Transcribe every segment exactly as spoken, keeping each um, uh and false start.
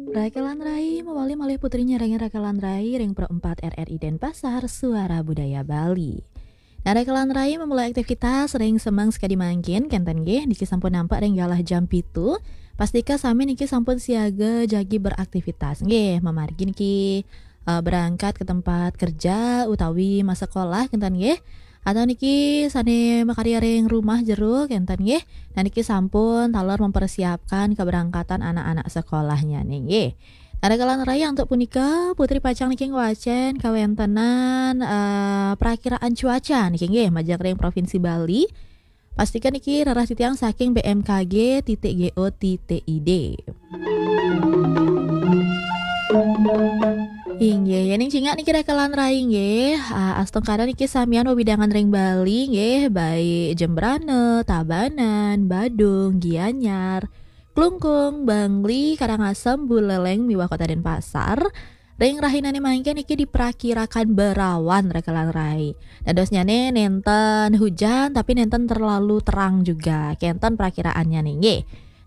Rakelan Rai, mawali malih putri nyarengin Rakelan Rai ring Pro empat R R I Denpasar, Suara Budaya Bali. Nah, Rakelan Rai memulai aktivitas ring semeng sekadi mangkin, kenten nggih, niki sampun nampek ring galah jam pitu. Pastika sami niki sampun siaga jagi beraktivitas nggih, mamargi niki, eh, berangkat ke tempat kerja utawi masekolah, kenten nggih. Atau niki sane makarya ring rumah jero, kenten nggih. Nah, niki sampun taler mempersiapkan keberangkatan anak-anak sekolahnya nih nggih. Nah, Rakelan Rai, untuk punika putri pacang niki ngwacen kawentenan, eh, prakiraan cuaca niki nggih majeng ring Provinsi Bali. Pastika niki rereh titiang saking B M K G titik G O titik I D. Inggih, yening cingak niki Rakelan Rai nggih, ah, astungkara niki samian wewidangan ring Bali nggih, baik Jembrana, Tabanan, Badung, Gianyar, Klungkung, Bangli, Karangasem, Buleleng, miwah Kota Denpasar. Ring rahinane mangkin niki diprakirakan berawan, Rakelan Rai. Dadosnyane nenten hujan tapi nenten terlalu terang juga. Kenten prakiraannya nih nggih.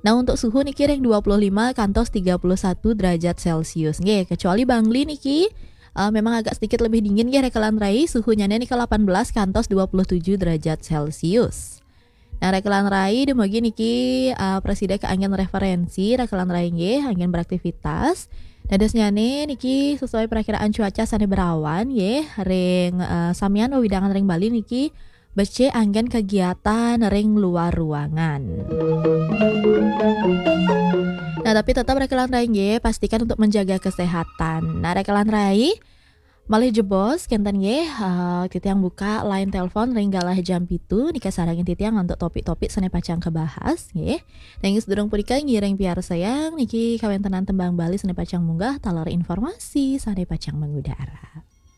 Nah, untuk suhu niki ring dua puluh lima kantos tiga puluh satu derajat Celcius nggih. Kecuali Bangli niki, eh, memang agak sedikit lebih dingin nggih, Rakelan Rai, suhunya nika delapan belas kantos dua puluh tujuh derajat Celcius. Nah, Rakelan Rai, dumugi niki, eh, prasida kaanggen referensi, Rakelan Rai nggih anggen beraktivitas. Dadosnyane niki sesuai perakiraan cuaca sane berawan nggih, ring, eh, samian wewidangan ring Bali niki becik anggen kegiatan ring luar ruangan. Nah, tapi tetap Rakelan Rai nggih, pastikan untuk menjaga kesehatan. Nah, Rakelan Rai, malih jebos, kenten nggih, eh, titiang buka line telepon ring galah jam pitu, nika sarengin titiang untuk topik-topik sane pacang kabahas nggih. Nanging sadurung punika ngiring piarsayang niki kawentenan tembang Bali sane pacang munggah taler informasi sane pacang mengudara.